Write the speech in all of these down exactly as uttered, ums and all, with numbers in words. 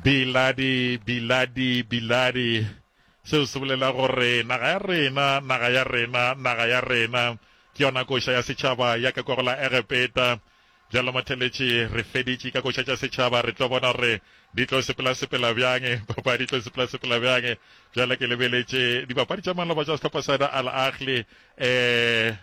Biladi, biladi, biladi. Seo se bolela gore naga ya rena, naga ya rena, naga ya rena ke yona koša ya setšhaba ya ka kwa go la Egepeta. Bjalo motheletši, re feditše ka koša tša setšhaba, re tlo bona gore di tlo sepela-sepela bjang, papadi di tlo sepela-sepela bjang. Bjale ke lebeletše dipapadi tša maloba tša sehlopha sa Al Ahly, eh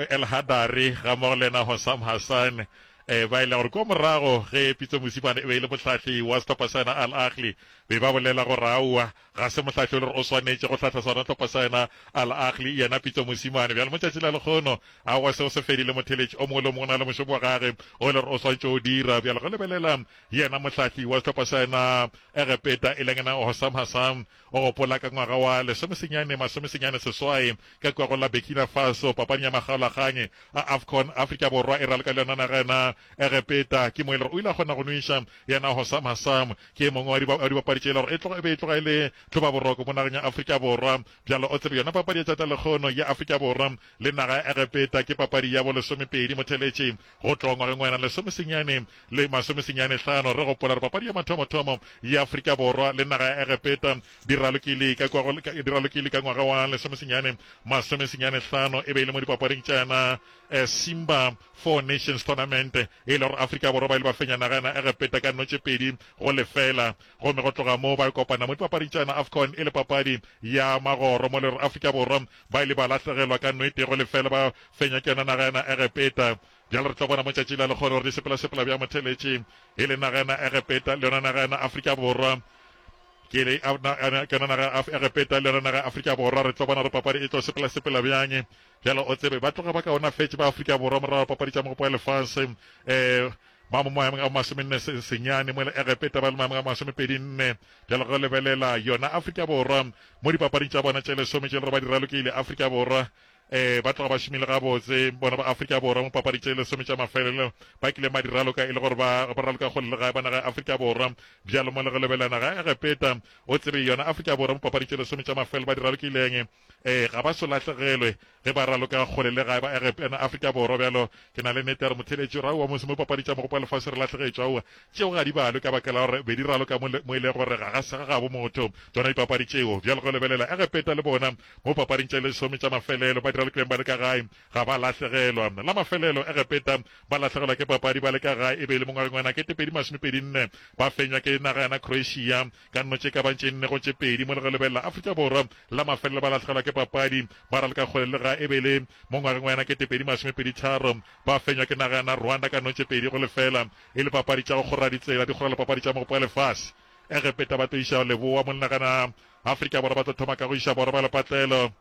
El Hadary ga mmogo le yena Hossam Hassan, eh ba ile gore kwa morago ge Pitso Mosimane e be e le mohlahli wa sehlopha sa yena Al Ahly, be ba bolela gore aowa ga se mohlahli o le gore o swanetše go hlahla sona sehlopha sa yena Al Ahly, yena Pitso Mosimane. Bjale mo tšatši la lekgono aowa seo se fedile, motheletši o mongwe le o mongwe o na le mošomo wa gage o le gore o swanetše o dira. Bjale go lebelela yena mohlahli wa sehlopha sa yena Egepeta e leng yena Hossam Hassan, o gopola ka ngwaga wa lesomesenyane masomesenyane seswai ka kua go la Burkina Faso, papading ya makgaolakgang a AFCON, Afrika Borwa e raloka le yona naga yena Egepeta. Ke mo e le gore o ile a kgona go nweša yena Hossam Hassan, ke e mongwe wa dibapadi tše e le gore e tloga e be e tloga e le tlhobaboroko mo nageng ya Afrika Borwa. Bjalo o tsebe yona papadi ya tšatša lekgono ya Afrika Borwa le naga ya Egepeta ke papadi ya bolesomepedi motheletši go tloga ngwageng wa yena lesomesenyane le masomesenyane hlano. Re gopola gore papadi ya mathomothomo ya Afrika Borwa le naga ya Egepeta di ralokile ka kwa go di ralokile ka ngwaga wa lesomesenyane masomesenyane hlano, e be e le mo dipapading tša yena Simba Four Nations Tournament, e le gore Afrika Borwa ba ile ba fenya naga yena Egepeta ka nno tše pedi go lefela. Gomme go tloga moo ba kopana mo dipapading tša yena AFCON e le papadi ya magoro, mo le gore Afrika Borwa ba ile ba lahlegelwa ka nno e tee go lefela, ba fenya ke yona naga yena Egepeta. Bjale re tlo bona mo tšatši la lekgono gore di sepela-sepela bjang motheletši e le naga yena Egepeta le yona naga yena Afrika Borwa. Ke le ke yona naga ya Egepeta le yona naga ya Afrika Borwa. Re tlo bona gore papadi e tlo sepela-sepela bjang. Bjale o tsebe ba tloga ba kaonafetše ba Afrika Borwa morago papadi tša mogopo wa lefase, um ba mo maemong a masomenne senyane, mo le Egepeta ba le maemong a masomepedi nne. Bjale go lebelela yona Afrika Borwa mo dipapading tša bona tše lesome tše le gore ba di ralokile, Afrika Borwa eh ba tloga ba šomile gabotse bona ba Afrika Borwa mo papadi tše lesome tša mafelelo ba kileng ba di raloka e le gore ba ba raloka kgole le gae ba naga ya Afrika Borwa. Bjalo mo le go lebelela naga ya Egepeta, o tsebe yona Afrika Borwa mo papadi tše lesome tša mafelelo ba di ralokileng, eh ga ba so lahlegelwe ge ba raloka kgole le gae ba Egepeta Afrika Borwa. Bjalo ke na le nnete ya gore motheletši o ra aowa mose mo papadi tša mogopo wa lefase re lahlegetšwe, aowa tšeo ga di balwe ka baka la gore be di raloka mo mo e le gore ga ga se ga gabo motho tšona dipapadi tšeo. Bjalo go lebelela Egepeta le bona mo papading tše lesome tša mafelelo ba di ralokileng ba le ka gae ga ba lahlegelwa. La mafelelo Egepeta ba lahlegelwa ke papadi ba le ka gae e be e le mo ngwageng wa nakete pedi masomepedi nne, ba fenywa ke naga yana Croatia ka nno tše ka bang tše nne go tše pedi. Mo le go lebelela Afrika Borwa la mafelelo ba lahlegelwa ke papadi ba raloka kgole le gae e be e le mo ngwageng wa nakete pedi masomepedi tharo, ba fenywa ke naga yana Rwanda ka nno tše pedi go lefela, e le papadi tša go kgora ditsela di kgorela papadi tša mogopo wa lefase. Egepeta ba tlo iša leboa mo lenagana Afrika Borwa ba tlo thoma ka go iša borwa ba lepatlelo.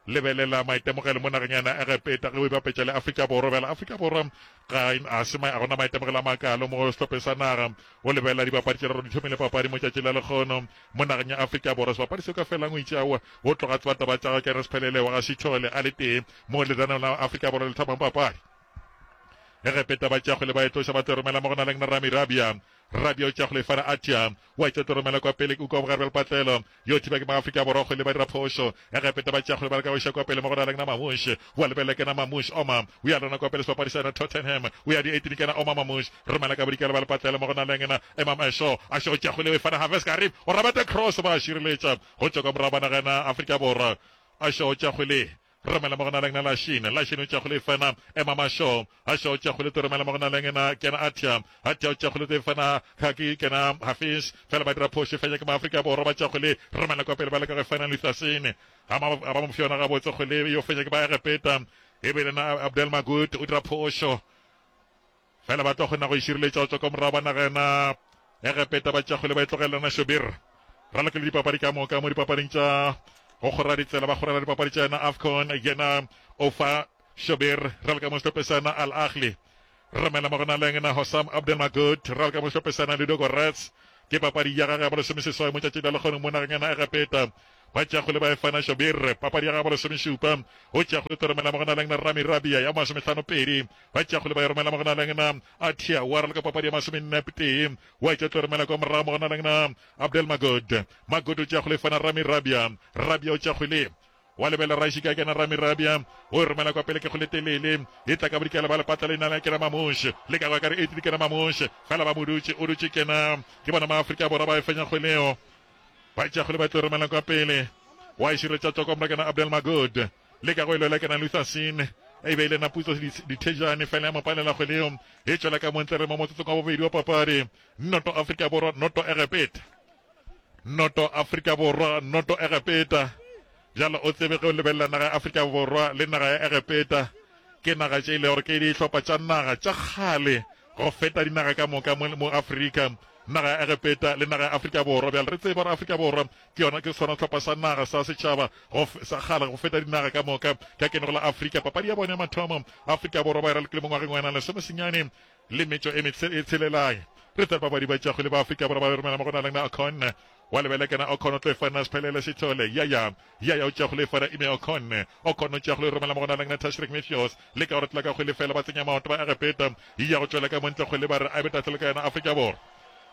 Lebelela maitemogelo mo nageng yana Egepeta ge o e bapetša le Afrika Borwa. Bjale Afrika Borwa ga a se a gona maitemogelo a makalo mo sehlopheng sa naga. O lebelela dibapadi tše raro di thomile papadi mo tšatši la lekgono mo nageng ya Afrika Borwa. Sebapadi seo ka felang o itše aowa o tloga tseba taba tša gagwe ke Ernest Phelele wa ga Sithole a le tee mo lenaneong la Afrika Borwa le thomang papadi. Egepeta ba tšea kgwele ba e tloša ba tlo romela mo go na leng na Rami Rabia. Rabia o tšea kgwele e fana Atia wa etša tlo romela kwa pele kwa bogare bja lepatlelo. Yo thiba ke Maafrika Borwa kgwele ba dira phošo. Egepeta ba tšea kgwele ba leka go iša kwa pele mo go na leng na Mamush. Wa lebelela ke na Mamush Oma o ya lona kwa pele sebapadi sa yona Tottenham o ya di eighteen ke na Oma Mamush romela ka bodikela ba lepatlelo mo go na leng na Imam Asho. Asho o tšea kgwele o e fana Haves Karib o rabeta cross ba šireletša go tšwa kwa morago ba naga yona Afrika Borwa. Asho o tšea kgwele romela mo go na leng na Lashine. Lashine o tšea kgwele e fana Emma Masho. Asho o tšea kgwele to romela mo go na leng na Kena Atia. Atia o tšea kgwele to e fana Khaki Kena Hafiz. Fela ba dira phošo fenya ke Maafrika Borwa ba tšea kgwele romela kwa pele ba leka go e fana Luthasine. Ga ba mo fiona gabotse kgwele yo fenya ke ba Egepeta. E be le na Abdel Magut o dira phošo. Fela ba tlo kgona go e šireletša go tšwa kwa morago ba nagana Egepeta ba tšea kgwele ba e tlogelana Shobir. Ralokile dipapadi ka moka mo dipapading tša go kgora ditsela ba kgorela dipapadi tša yena AFCON yena o fa Shobir raloka mo sehlopheng sa yena Al Ahly. Romela mo go na leng na Hossam Abdel Magoud raloka mo sehlopheng sa yena Ludogorets. Ke papadi ya gagwe ya bolesomeseswai mo tšatšing la lekgono mo nageng ya Egepeta. Ba tšea kgwele ba e fana Shobir papadi ya gagwe ya bolesomešupa o tšea kgwele to romela mo go na leng na Rami Rabia ya masomehlano pedi. Ba tšea kgwele ba e romela mo go na leng na Atia wa raloka papadi ya masomenne tee wa tšea tlo romela kwa morago mo go na leng na Abdel Magod. Magod o tšea kgwele e fana Rami Rabia. Rabia o tšea kgwele Wa lebela Rashika kena Ramirabia o e romela kwa pele ke kgole telele e tla ka bodikela ba lepatla le nala kena Mamush le ka go ka re eight kena Mamush fela ba mo dutše o dutše kena ke bona ma Afrika Borwa ba e fenya kgweleo ba tša kgwele ba tlo romela kwa pele wa e šireletša tšwa kwa morago kena Abdel Magud le ka go e lwela kena Luther Sin e be e le na Putso Dithejane fela ya mo palela kgweleo e tšwela ka montle re mo motsotsong wa bobedi wa papadi noto Afrika Borwa noto Egepeta noto Afrika Borwa noto Egepeta. Bjalo o tsebe ge o lebelela naga ya Afrika Borwa le naga ya Egepeta, ke naga tše e le gore ke dihlopha tša naga tša kgale go feta dinaga ka moka mo, mo Afrika, naga ya Egepeta le naga ya Afrika Borwa. Bjale re tsebe gore Afrika Borwa ke yona ke sona sehlopha sa naga sa setšhaba go, sa kgale go feta dinaga ka moka ka kenego la Afrika. Papadi ya bone ya mathomo Afrika Borwa ba e ralokile mo ngwageng wa ena lesomesenyane le metšo e e tshelelang. Re tsebe babadi ba tšakgwele ba Afrika Borwa ba romela mo go na leng na Ocon wa lebele kena Ocon o tlo e fana Sphelele Sithole ya ya ya ya o tšakgwele e fana Ime Ocon Ocon o tšakgwele e romela mo go na leng na Tashreeq Matthews le ka gore tla ka kgwele fela ba tsenya maoto ba Egepeta ya go tšwela ka montle kgwele ba re a be tahlelo ka yona Afrika Borwa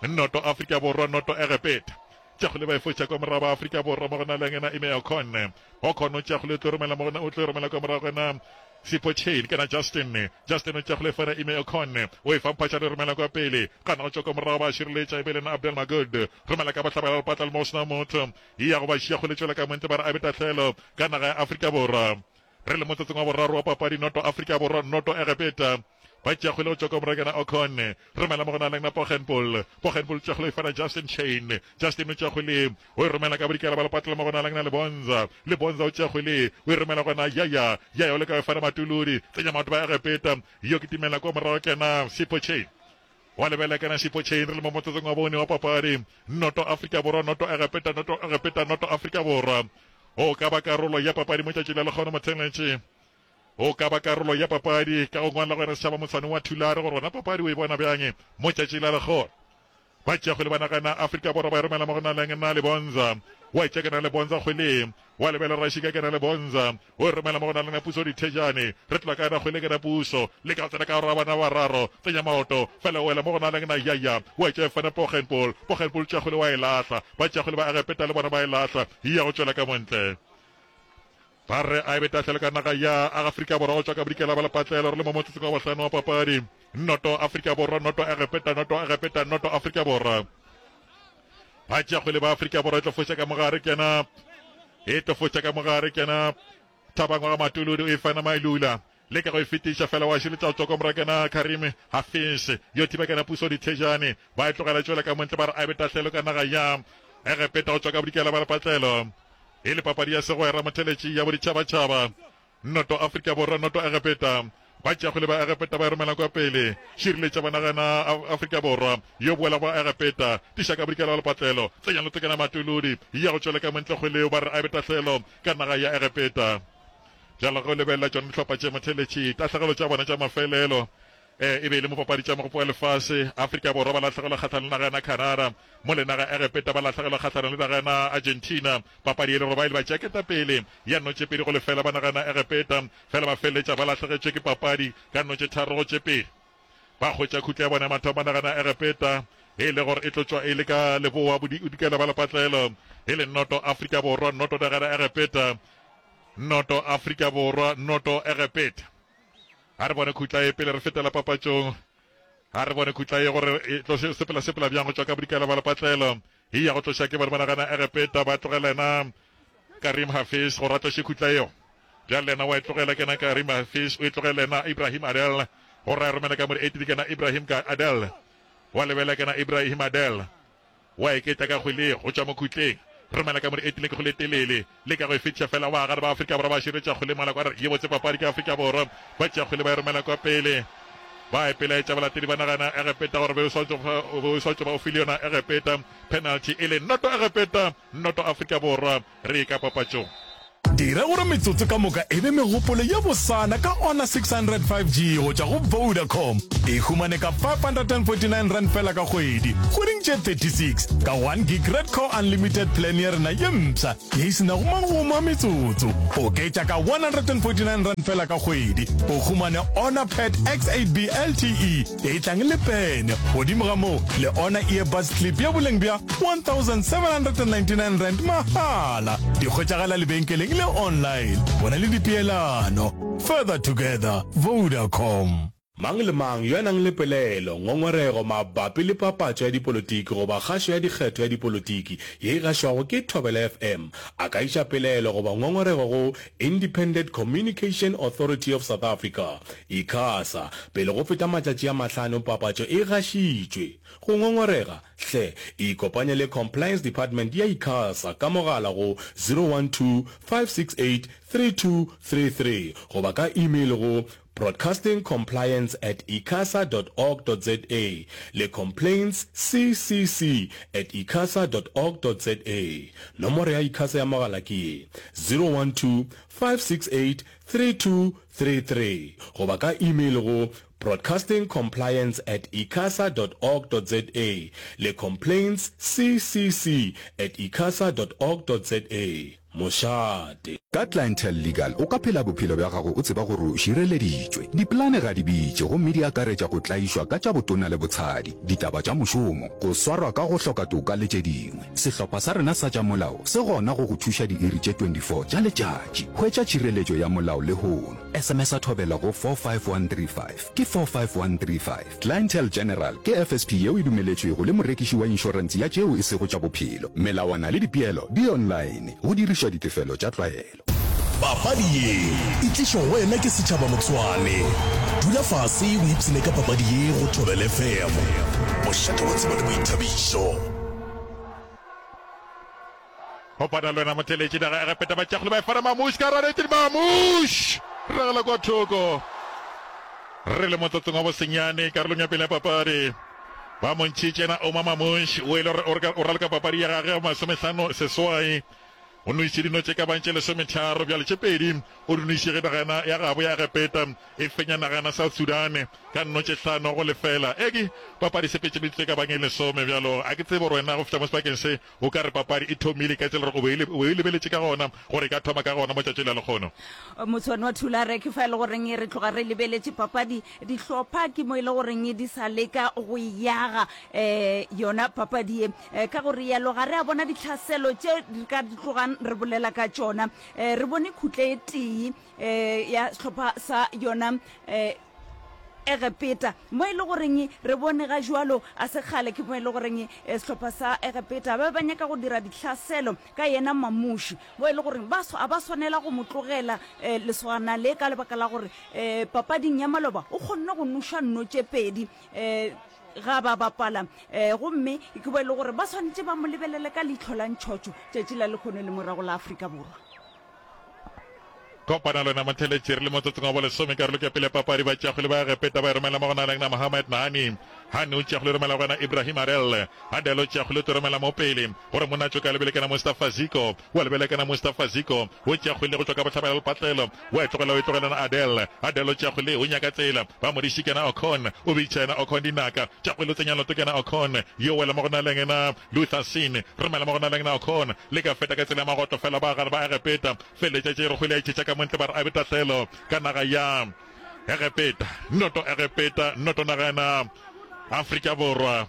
noto Afrika Borwa noto Egepeta tšakgwele ba e fotša kwa morago ba Afrika Borwa mo go na leng na Ime Ocon Ocon o tšakgwele o tlo romela mo o tlo romela kwa morago na Sipho Chain kana Justin Justin o tšea fana Ime Ocon o e fa mphatša le romela kwa pele gana go tšwa kwa morago ba šireletša e be lena Abdel Magud romela ka bohlabela lepatla le mo sena motho e ya go ba šia kgole tšwela ka montle ba re a be tahlelo ka naga ya Afrika Borwa re le motsotsong wa boraro wa papadi noto Afrika Borwa noto Egepeta ba tšea kgwele go tšwa kwa morago kena Ocon romela mo go na leng na Poggenpoel Poggenpoel tšea kgwele e fana Justin Chain Justin o tšea kgwele o e romela ka bodikela ba lepatla mo go na leng na Lebonza Lebonza o tšea kgwele o e romela gona Yaya Yaya o leka go e fana Matuludi tsenya maoto ba Egepeta yo kitimela kwa morago kena Sipho Chain wa lebela kena Sipho Chain re le mo motsotsong wa bone wa papadi noto Afrika Borwa noto Egepeta noto Egepeta noto Afrika Borwa o ka ba karolo ya papadi mo tšatši la lekgono motheletše o ka ba karolo ya papadi ka go ngwala gore setšhaba motshwane wa Thulare gore gona papadi o e bona bjang mo tšatši la lekgono ba tšea kgwele ba nagana Afrika Borwa ba e romela mo go na leng na Lebonza wa etša kena Lebonza kgwele wa lebela Rashika kena Lebonza o e romela mo go na leng na Puso Dithejane re tlola ka yona kgwele kena Puso le ka tsena ka gore bana bararo tsenya maoto fela o wela mo go na leng na Yaya wa etša e fana Poggenpoel Poggenpoel tšea kgwele wa e lahla ba tšea kgwele ba Egepeta le bona ba e lahla ya go tšwela ka montle ba re a e be tahlelo ka naga ya Afrika Borwa go tšwa ka bodikela ba lepatlelo re le mo motsotsong wa bohlano wa papadi noto Afrika Borwa noto Egepeta noto Egepeta noto Afrika Borwa ba tšea kgwele ba Afrika Borwa e tlo foša ka mogare kena e tlo foša ka mogare kena Thabang wa ga Matuludi o e fana Mailula le ka go e fetiša fela wa širetša go tšwa kwa morago kena Karim Hafiz yo thiba kena Puso Dithejane ba e tlogela tšwela ka montle ba re a e be tahlelo ka naga ya Egepeta go tšwa ka bodikela ba lepatlelo e le papadi ya segwera motheletši ya boditšhabatšhaba noto Afrika Borwa noto Egepeta ba tšea kgwele ba Egepeta ba e romela kwa pele šireletša ba nagana Afrika Borwa yo boela ba Egepeta tiša ka bodikela ba lepatlelo tsenya lotekana Matuludi ya go tšwela ka montle kgweleo ba re a e be tahlelo ka naga ya Egepeta bjalo ge o lebelela tšona dihlopha tše motheletši tahlegelo tša bona tša mafelelo e be e le mo papadi tša mogopo wa lefase Afrika Borwa ba lahlegelwa kgahlanong le naga ya Canada mo le naga Egepeta ba lahlegelwa kgahlanong le naga ya Argentina papadi e le gore ba ile ba tšea ketapele ya no tše pedi go lefela ba naga ya Egepeta fela ba feleletša ba lahlegetšwe ke papadi ka no tše tharo go tše pedi ba hwetša khutla ya bona ya mathomo ba naga ya Egepeta e le gore e tlo tšwa e le ka leboa bodikela ba lepatlelo e le noto Afrika Borwa noto naga ya Egepeta noto Afrika Borwa noto Egepeta a re bone khutla e pele re fetela papatšong a re bone khutla e gore e tlo sepela sepela bjang go tšwa ka bodikela ba lepatlelo e ya go tloša ke bone ba nagana Egepeta ba tlogela ena Karim Hafiz gore a tloše khutla eo bjale yena wa e tlogela kena Karim Hafiz o e tlogela ena Ibrahim Adel gore a romele ka mo di-eight kena Ibrahim ka Adel wa lebela kena Ibrahim Adel wa eketla ka kgwele go tšwa mo khutleng romela ka mo di-eight ke kgwele telele le ka go e fetiša fela wa gare ba Afrika Borwa ba širetša kgwele mola kwa re ye botse papadi ke Afrika Borwa ba tšea kgwele ba e romela kwa pele ba ipelaetša balatedi ba nagana Egepeta gore be o swanetše ba o file yona Egepeta penalty e le noto Egepeta noto Afrika Borwa re ka papatšong. Dira gore metsotso ka moka e be megopolo ye bosana ka Honor six hundred five G go tšwa go Vodacom. E humane ka five hundred and forty-nine rand fela ka kgwedi, kgweding tše thirty-six, ka one gig Red Core Unlimited plan ya rena ye mpsha ye e se nago magomo a metsotso. Oketša ka one hundred and forty-nine rand fela ka kgwedi, o humane Honor Pad X eight B L T E ye e tlang le pene. Godimo ga moo, le Honor Earbuds Clip ya boleng bja one thousand seven hundred and ninety-nine rand mahala. Di hwetšagala lebenkeleng le online. Bona le dipeelano. Further together, Vodacom. Mang le mang yo a nang le pelaelo, ngongorego mabapi le papatšo ya dipolotiki goba kgašo ya dikgetho ya dipolotiki ye e gašwago ke Thobela F M a ka iša pelaelo goba ngongorego go Independent Communication Authority of South Africa, ICASA, pele go feta matšatši a mahlano papatšo e gašitšwe. Go ngongorega, hle ikopanye le Compliance Department ya ICASA ka mogala go zero one two, five six eight, three two three three goba ka email go broadcasting compliance at icasa dot org dot za le complaints C C C at icasa dot org dot za. Nomoro ya ICASA ya mogala ke ye zero one two, five six eight, three two three three goba ka email go broadcasting compliance at icasa dot org dot za le complaints C C C at icasa dot org dot za. Mošate. Ka Clientele Legal o ka phela bophelo bja gago o tseba gore o šireleditšwe. Dipolane ga di bitše gomme di akaretša go tlaišwa ka tša botona le botshadi, ditaba tša mošomo, go swarwa ka go hloka toka le tše dingwe. Sehlopha sa rena sa tša molao se gona go go thuša diiri tše twenty-four tša letšatši. Hwetša tšhireletšo ya molao lehono. S M S a Thobela go four five one three five. Ke four five one three five. Clientele General ke F S P yeo e dumeletšwego le morekiši wa inšorense ya tšeo e sego tša bophelo. Melawana le dipeelo di online. Go dirišwa ditefelo tša tlwaelo. Papadi ye e tlišwa go wena ke setšhaba Motswane. Dula fase o ipshine ka papadi ye go Thobela F M. Mošate wa tsebo le boithabišo. Kopana le wena motheletši naga Egepeta ba tšagole ba e fana Mamush ka ranetse Mamush ragela kwa thoko. Re le motsotsong wa bosenyane karolong ya pele ya papadi. Ba mo ntšhitše na Omar Mamush o ile o raloka papadi ya gagwe ya masomehlano seswai. O nwešitše dino tše ka bang tše lesometharo bjale tše pedi o di nwešitše ge nagana ya gabo ya Egepeta e fenya nagana South Sudan ka nno tše hlano go lefela. E ke papadi sepetše metsotso e ka bang e lesome bjalo a ke tsebe gore wena go fihla mo sebakeng se o ka re papadi e thomile ka tsela gore o be e lebeletše ka gona gore e ka thoma ka gona mo tšatši la lekgono. Motshwane wa Thulare ke fa e le goreng re tloga re lebeletše papadi dihlopha ke mo e le goreng di sa leka go yaga um yona papadi ye ka gore yalo ga re a bona ditlhaselo tše re ka tlogang re bolela ka tšona. um re bone khutle e tee um ya sehlopha sa yona um Egepeta mo e le goreng re bone ga jwalo a sekgale ke mo e le goreng sehlopha sa Egepeta ba ba nyaka go dira ditlhaselo ka yena Mamuši mo e le goreng ba a ba swanela go mo tlogela lesogana le ka lebaka la gore um papading ya maloba o kgonne go noša nno tše pedi um ga ba bapala um gomme ke bo e le gore ba swanetše ba mo lebelele ka leihlo la ntšhotšho tšatši la lekgono le morago la Afrika Borwa. Kopana le wena motheletši re le motsotsong wa bolesome karolo ke pele papadi ba tšagole ba Egepeta ba e romela mo go na leng na Mohamed Nahani. Hani o tšagole romela go yena Ibrahim Adel. Adel o tšagole o romela mo pele gore monna tšo ka lebele kana Mustafa Ziko. Wa lebele kana Mustafa Ziko o tšagole go tšwa ka bohlabela lepatlelo. Wa e tlogela o e tlogela na Adel. Adel o tšagole o nyaka tsela ba mo diši kana Ocon. O bitša yena Ocon dinaka. Tšagole o tsenya loto kana Ocon. Yo wela mo go na leng na Luther Sin. Romela mo go na leng na Ocon. Le ka feta ka tsela ya magotlo fela ba gare ba Egepeta. Feletša tše re kgwele ya itšhetša ka montle ba re a betahlelo ka naga ya Egepeta. Noto Egepeta, noto nagana Afrika Borwa.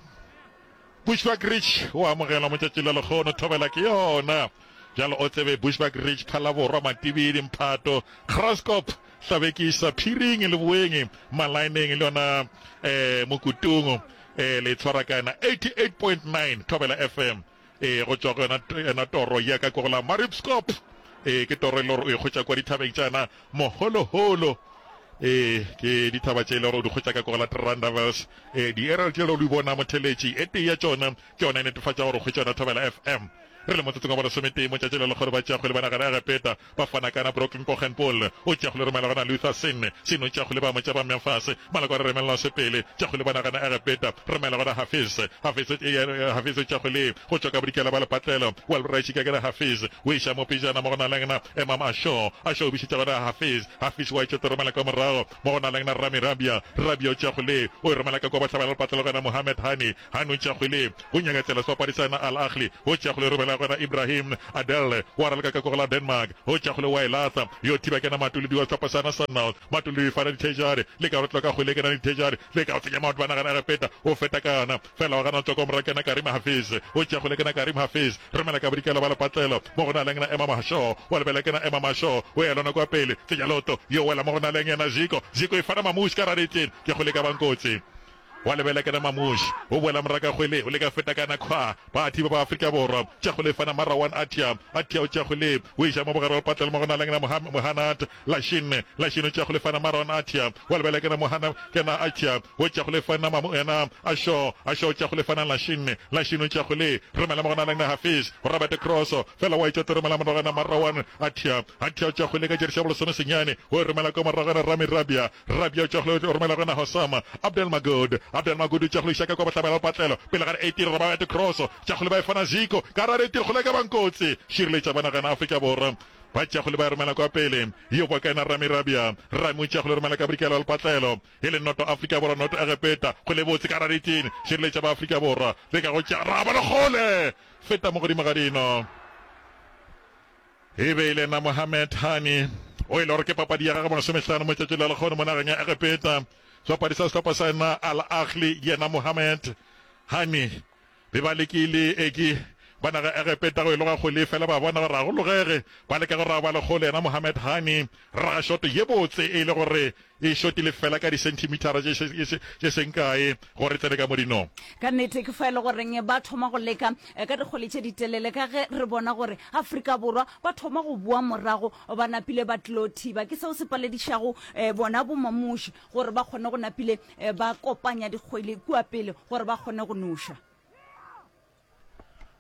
Bushbuckridge o amogelwa motšatši la lekgono thobela ke yona. Bjalo o tsebe Bushbuckridge, Phalaborwa, Matibidi, Mphato, Graskop, Hlabekisa, Phiring, Leboeng, Malaeneng le yona eh Mokutung eh le tshwara ka yona eighty-eight point nine Thobela F M e go tšwa go yona yona toro ya ka ko go la Mariepskop. E ke toro e le gore o e kgotša kwa dithabeng tšana moholoholo. E ke dithaba tše e le gore o di kgotša ka ko go la Trandavels. E di-aerial tše le di bona motheletši e tee ya tšona ke yona e netefatša gore o kgwetša yona Thobela F M. Re le motsotsong wa bolesometee motšatši le lekgolo ba tšeagole ba nagana Egepeta ba fana kana Brooklyn Poggenpoel o tšeagole romela gona Luther Sin. Sin o tšeagole ba mo tša ba mmea fase maloko a re remelela sepele tšeagole ba nagana Egepeta romela gona Hafiz. Hafiz Hafiz o tšeagole go tšwa ka bodikela ba lepatlelo wa Raishika ke Hafiz o iša mo pejana mo go na lengna Emam Asho. Asho o bišitša gona Hafiz. Hafiz wa itšo romela ka morago mo go na lengna Rami Rabia. Rabia o tšeagole o e romela ka kwa bohlabela lepatlelo gona Mohamed Hani. Hani o tšeagole go nyaka tsela sebapadi sa yena Al Ahly o tšeagole romela morago gona Ibrahim Adel wa raloka ka ko la Denmark o tša kgole wa e latla yo thiba kena Matuludi wa sehlopha sa Sundowns. Matuludi fana dithejare le ka rotlo ka kgwele kena dithejare le ka go tsenya maoto ba nagana Egepeta o feta ka yona fela wa gana tswa ko morago kena Karim Hafiz o tša kgole kena Karim Hafiz romela ka bodikela ba lepatlelo mo go na leng na Ema Masho wa lebela kena Ema Masho o ya lona kwa pele tsenya loto yo wela mo go na leng yena Ziko Ziko e fana Mamush ka raditeng ke kgole ka bankotsi wa lebela kena Mamush o boela moraka kgwele o leka feta kana kgwa ba thiba ba Afrika Borwa tša kgole fana Marawan Atia Atia o tša kgole o iša mo bogare wa lepatlelo mo go na leng na Mohanad Lashin Lashin o tša kgole fana Marawan Atia wa lebela kena Mohana kena Atia o tša kgole fana Mamu yena Asho Asho o tša kgole fana Lashin Lashin o tša kgole romela mo go na leng na Hafiz Robert Cross fela wa itša romela mo gona Marawan Atia Atia o tša kgole ka jeresi ya bolesome senyane o romela ko morago gona Rami Rabia Rabia o tša kgole o romela gona Hosama Abdel Magod Abdel Magod o tša kgole iša ka kwa bohlabela lepatlelo pele ga eighteen Robert Cross tša kgole ba e fana Ziko ka ra eighteen kgole ka bankotsi šireletša ba nagana Afrika Borwa ba tša kgole ba e romela kwa pele yo kwa kaena Rami Rabia Rami o tša kgole romela ka bodikela lepatlelo e le noto Afrika Borwa noto Egepeta kgole botse ka ra eighteen šireletša ba Afrika Borwa le ka go tša raba le kgole feta mo godimo ga dino e be e le na Mohamed Hani o e le gore ke papadi ya gagwe masomehlano mo tšatši la lekgono mo nageng ya Egepeta sebapadi sa sehlopha sa yena Al Ahly yena Mohamed Hani be ba lekile eke ba naga Egepeta go e loga kgole fela ba bona gore ga go logege ba leka go raba le kgole yena Mohamed Hani raga shoto ye botse e le gore e shotile fela ka di-centimetera tše seng kae gore tsene ka modinong. Ka nnete ke fa e le goreng ba thoma go leka ka dikgole tše ditelele ka ge re bona gore Afrika Borwa ba thoma go boa morago ba napile ba tlilo thiba. Ke seo se paledišago bona bomamuši gore ba kgone go napile ba kopanya dikgwele kua pele gore ba kgone go noša.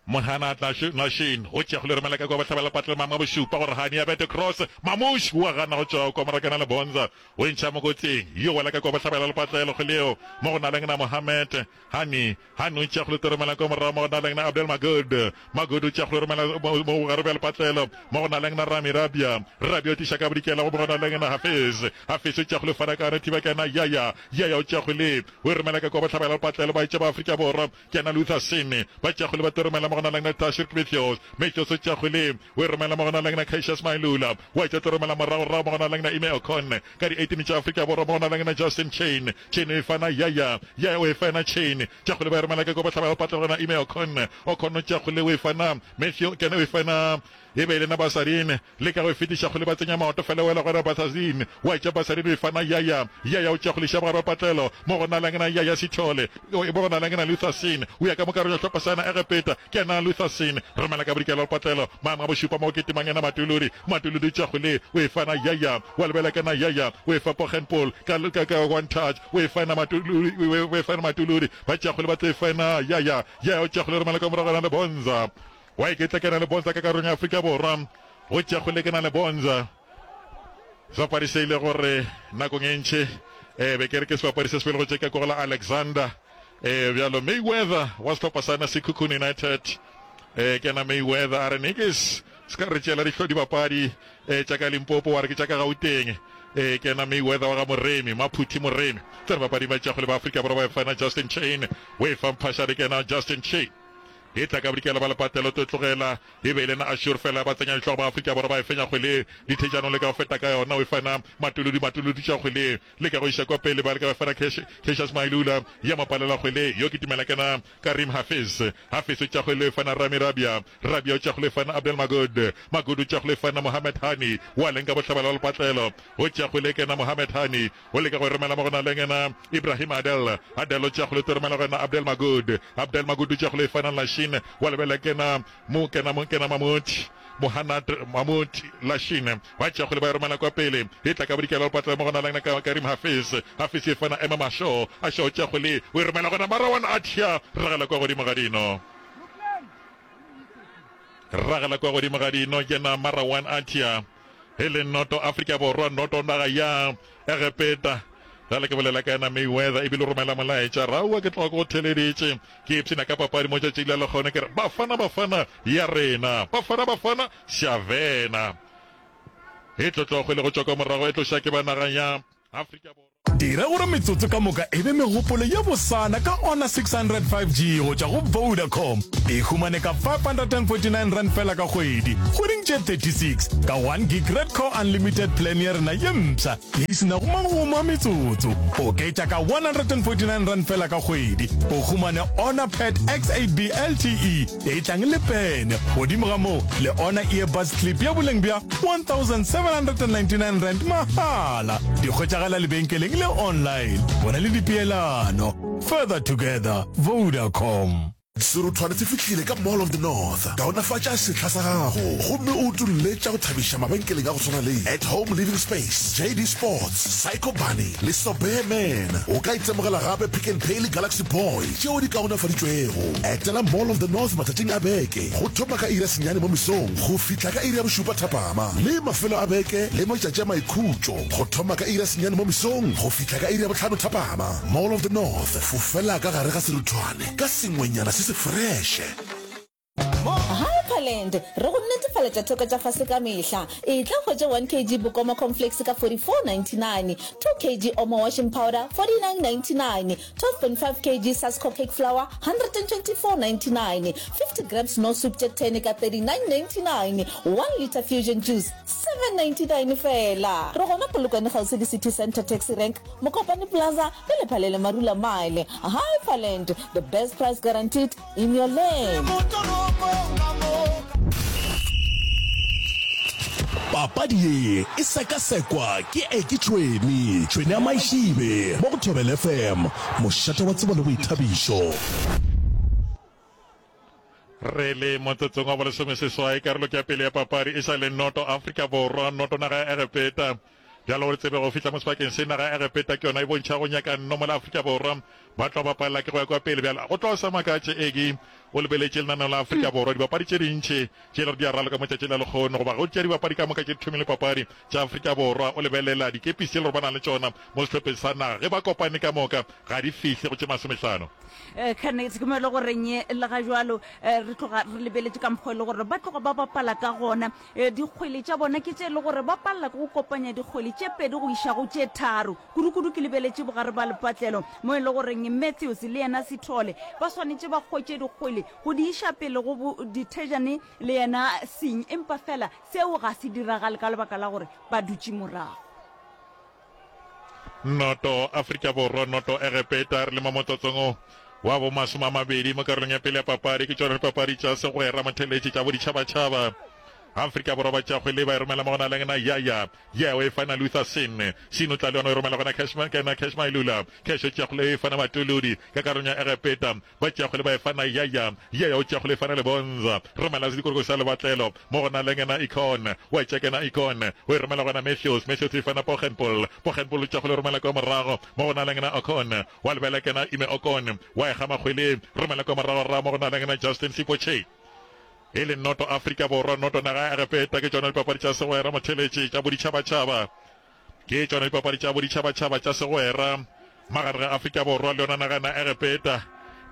Mohana Lashin o tšea go le romela ka kwa bohlabela patlelo mama bošupa gore Hani ya bete cross Mamush wa gana go tšwa kwa morakana le Bonza o ntšha mo kotsing yo wela ka kwa bohlabela lepatlelo go leo mo go na leng na Mohamed Hani Hani o tšea go le romela kwa morago mo go na leng na Abdel Magod Magod o tšea go le romela mo gare bja lepatlelo mo go na leng na Rami Rabia Rabia o tliša ka bodikela go mo go na leng na Hafiz Hafiz o tšea go le fana ka thiba kana Yaya Yaya o tšea go le o romela ka kwa bohlabela lepatlelo ba itše ba Afrika Borwa ke na Luther Sene ba tšea go le ba romela mo go na leng na Tashir Matthews Matthews o tšea go le o romela mo go na leng na Cassius Mailula wa tšea romela morago rago mo go na leng na Ime Okon ka di eighteen tša Afrika Borwa mo go na leng na Justin Chain Chain e fana Yaya Yaya o e fana Chain tšea go le ba romela ka kwa bohlabela lepatlelo gona Ime Okon Okon o tšea go le o e fana Matthew kena o e fana e be e le na Basadine le ka go e fetiša kgole ba tsenya maoto fela wela gona Basadine wa tša Basadine o e fana Yaya Yaya o tšea go leša bogare patlelo mo go na leng na Yaya Sithole mo go na leng na Luther Sene o ya ka mo karolong ya sehlopha sa yena Egepeta ke yena Luther Sene romela ka bodikela lepatlelo maemo a bošupa mo go ketimang yena Matuludi Matuludi o tšea kgole o e fana Yaya wa lebela ke na Yaya o e fa Poggenpoel ka ka ka one touch o e fana Matuludi o e fana Matuludi ba tšea kgole ba tlo e fana Yaya Yaya o tšea kgole romela ka morago le Bonza wa iketla ke na le Bonza ka karolong ya Afrika Borwa go tšea kgole ke na le Bonza sebapadi se ile gore nakong e ntši um be ke re ke sebapadi se se pele go tše ka ko go la Alexander um bjalo Mayweather wa sehlopha sa na Sekhukhune United um ke yena Mayweather a re nikis se ka re tšeela dihlo dibapadi um tša ka Limpopo wa re ke tša ka Gauteng um ke yena Mayweather wa ga Moremi Maphuthi Moremi tsena bapadi ba tša kgole ba Afrika Borwa ba e fana Justin Chain o e fa Mphashane ke yena Justin Chain e tla ka bodikela ba lepatlelo tlo tlogela e be e le na Ashur fela ba tsenya dihlogo ba Afrika Borwa ba e fenya kgwele dithejano le ka go feta ka yona o e fana Matuludi Matuludi tša kgwele le ka go iša kwa pele ba le ka ba fana Cassius Mailula ya mapalela kgwele yo ke tumela kena Karim Hafiz Hafiz o tša kgwele o e fana Rami Rabia Rabia o tša kgwele e fana Abdel Magod Magod o tša kgwele e fana Mohamed Hani wa leng ka bohlabela wa lepatlelo o tša kgwele kena Mohamed Hani o leka go e romela mo go na leng yena Ibrahim Adel Adel o tša kgwele o romela go yena Abdel Magod Abdel Magod o tša kgwele e fana Lashin wa lebela kena mo kena mo kena Mahmoud Mohanad Mahmoud Lashin ba tša kgwele ba e romela kwa pele e tla ka bodikela lepatlelo mo go na leng na Karim Hafiz Hafiz e fana Ema Masho Asho tša kgwele o e romela gona Marawan Atia ragela kwa godimo ga dino ragela kwa godimo ga dino kena Marawan Atia e le noto Afrika Borwa noto naga ya Egepeta jale ke bolela ka yena Mayweather ebile o romela molaetša raua ke tloga ke go theleditše ke ipshina ka papadi mo tšatšing la lekgone ke re Bafana Bafana ya rena Bafana Bafana Shavena e tlotlo kgwele go tšwa kwa morago e tloša ke ba naga ya Afrika Borwa. Dira gore metsotso ka moka e be megopolo ye bosana ka Honor six hundred five G go tšwa go Vodacom. E humane ka five hundred and forty nine rand fela ka kgwedi, kgweding tše thirty six, ka one gig Red Core Unlimited plan ya rena ye mpsha ye e se nago magomo a metsotso. Oketša ka one hundred and forty nine rand fela ka kgwedi, o humane Honor Pad X eight B L T E ye e tlang le pene. Godimo ga moo, le Honor Earbuds Clip ya boleng bja one thousand seven hundred and ninety nine rand mahala. Di hwetšagala lebenkeleng le online. Bona le dipeelano. Further together, Vodacom. Seruthwane se fihlile ka Mall of the North. Kaonafatša sehla sa gago gomme o utolle tša go thabiša mabenkeleng a go swana le At Home Living Space, J D Sports, Psycho Bunny le Sobear Man. O ka itemogela gape Pick n Pay le Galaxy Boy tšeo di kaonafaditšwego. Etela Mall of the North matšatšing a beke go thoma ka iri ya senyane mo mesong go fihla ka iri ya bošupa thapama le mafelo a beke le matšatši a maikhutšo go thoma ka iri ya senyane mo mesong go fihla ka iri ya bohlano thapama. Mall of the North, fofela ka gare ga seruthwane ka sengwenyana se se freše. Hyperland, re go netefaletša theko tša fase ka mehla. Etla hwetše one kg Bokoma cornflakes ka forty-four ninety-nine, two kg Omo washing powder forty-nine ninety-nine, twelve point five kg Sasko cake flour hundred and twenty-four ninety-nine, fifty grams no soup tše ten ka thirty-nine ninety-nine, one litre Fusion juice seven ninety-nine fela. Re gona Polokwane kgauswi le City Centre Taxi Rank, Mokopane Plaza le Lephalele Marula Mile. Hyperland, the best price guaranteed in your land. Papadi ye e sekasekwa ke Eki Tšhwene, Tšhwene ya Maišibe, mo go Thobela F M, mošate wa tsebo le boithabišo. Re le motsotsong wa bolesomeseswai, karolo ke ya pele ya papadi e sa le noto Afrika Borwa, noto naga ya Egepeta. Bjalo gore tsebe go fihla mo sebakeng se, naga ya Egepeta ke yona e bontšha go nyaka nno mola Afrika Borwa ba tlo bapalela ke go ya kwa pele. Bjalo go tlo sa makatše Eki o lebeletše lenaneo la Afrika Borwa, dibapadi tše dintši tše e le gore di a raloka mo tšatši la lekgono, goba go tšea dibapadi ka moka tše di thomile papadi tša Afrika Borwa, o lebelela dikepisi tše e le gore ba na le tšona mo sehlopheng sa naga, ge ba kopane ka moka ga di fihle go tše masomehlano. Kenneth, ke mo e le goreng le ga jwalo re tloga re lebeletše ka mokgwa e le gore ba tloga ba bapala ka gona. Dikgwele tša bona ke tše e le gore ba palela ke go kopanya dikgwele tše pedi go iša go tše tharo. Kudukudu ke lebeletše bogare ba lepatlelo mo e le goreng Matthews le yena Sithole ba swanetše ba hwetše dikgwele go di iša pele go Dithejane le yena Singh, empa fela seo ga se diragale ka lebaka la gore ba dutše morago. Noto Afrika Borwa, noto Egepeta, re le mo motsotsong o wa bo masome a mabedi mo karolong ya pele ya papadi. Ke tšona dipapadi tša segwera motheletši tša boditšhabatšhaba. Afrika Borwa ba tšea kgwele ba e romela mo go na le yena Yaya. Yaya o e fana Luther Sin. Sin o tla le yona o e romela gona Cash, kena Cash Mailula. Cash o tšea kgwele e fana Matolodi ka karolong ya Egepeta. Ba tšea kgwele ba e fana Yaya. Yaya o tšea kgwele e fana Lebonza. Romela sedikoroko sa lebatlelo mo go na le yena Icon. Wa e tšea kena Icon. O e romela gona Matthews. Matthews o e fana Poggenpoel. Poggenpoel o tšea kgwele o romela kwa morago mo go na le yena Ocon. Wa lebela kena Ime Ocon. Wa e gama kgwele. Romela kwa morago ra mo go na le yena Justin Sipotše. E le noto Afrika Borwa, noto naga ya Egepeta. Ke tšona dipapadi tša segwera motheletši tša boditšhabatšhaba. Ke tšona dipapadi tša boditšhabatšhaba tša segwera magareng ga Afrika Borwa le yona naga na Egepeta.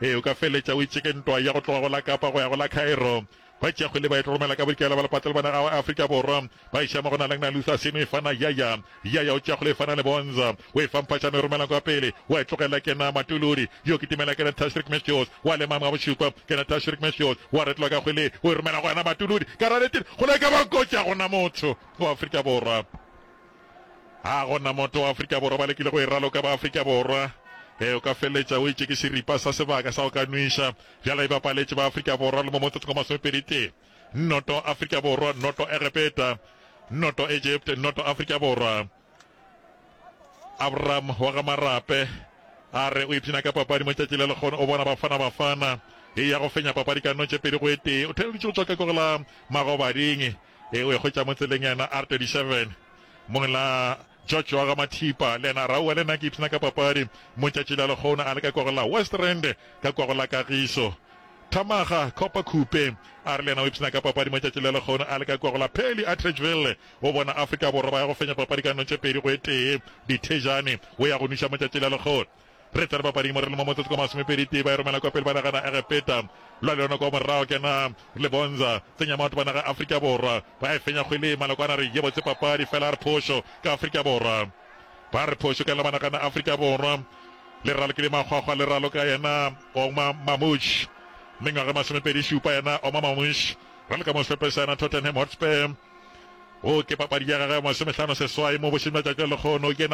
Ee, o ka feleletša o itše ke ntwa ya go tloga go la Kapa go ya go la Cairo. Ba tšea kgwele ba e tloromela ka bodikela ba lepatlelo ba naga wa Afrika Borwa. Ba iša mo go na le na Luther Seno e fana Yaya. Yaya o tšea kgwele e fana Lebonza. O e fa Mphatšana o e romela kwa pele. Wa e tlogela kena Matuludi. Yo kitimela kena Tashrik Matthews. Wa lema wa bošupa kena Tashrik Matthews. Wa retlwa ka kgwele o e romela go yena Matuludi. Ka raletile kgwele e ka ba kotsi, ga gona motho wa Afrika Borwa. Ga gona motho wa Afrika Borwa ba lekile go e raloka ba Afrika Borwa. Ee, o ka feleletša o itše ke seripa sa sebaka sa go ka nweša. Bjale e bapaletše ba Afrika Borwa le mo motsotsong wa masomepedi tee. Noto Afrika Borwa, noto Egepeta, noto Egypt, noto Afrika Borwa. Abraham wa ga Marape a re o ipshina ka papadi mo tšatši le lekgono, o bona Bafana Bafana e ya go fenya papadi ka no tše pedi go e tee. O theleditše go tšwa ka ko la Magobading, e o e hwetša mo tseleng yena R thirty-seven. Mong la George wa ga Mathipa le yena a re aowa le nna ke ipshina ka papadi mo tšatši la lekgono, a le ka kwa go la West Rand ka kwa go la Kagiso. Thamaga Copper Khupe a re le yena o ipshina ka papadi mo tšatši la lekgono a le ka kua go la Pearly Atteridgeville. O bona Afrika Borwa ba ya go fenya papadi ka no tše pedi go e tee. Dithejane o ya go nweša mo tšatši la lekgono. Re tsena papading mo re le mo motsotso ka masomepedi tee, ba e romela kwa pele ba nagana Egepeta. Lwa le yona kwa morago kena Lebonza, tsenya maoto ba naga Afrika Borwa. Ba e fenya kgwele, Malokwane a re ye botse papadi fela a re phošo ka Afrika Borwa. Ba re phošo ka Lebanagana Afrika Borwa. Le ralokile makgwakgwa le raloka yena Omar Marmoush. Mengwaga e masomepedi šupa yena Omar Marmoush. Raloka mo sehlopeng sa yena Tottenham Hotspur. Wo ke papadi ya gagwe ya masomehlano seswai mo bošeng bja tšatši la lekgono. Ke yena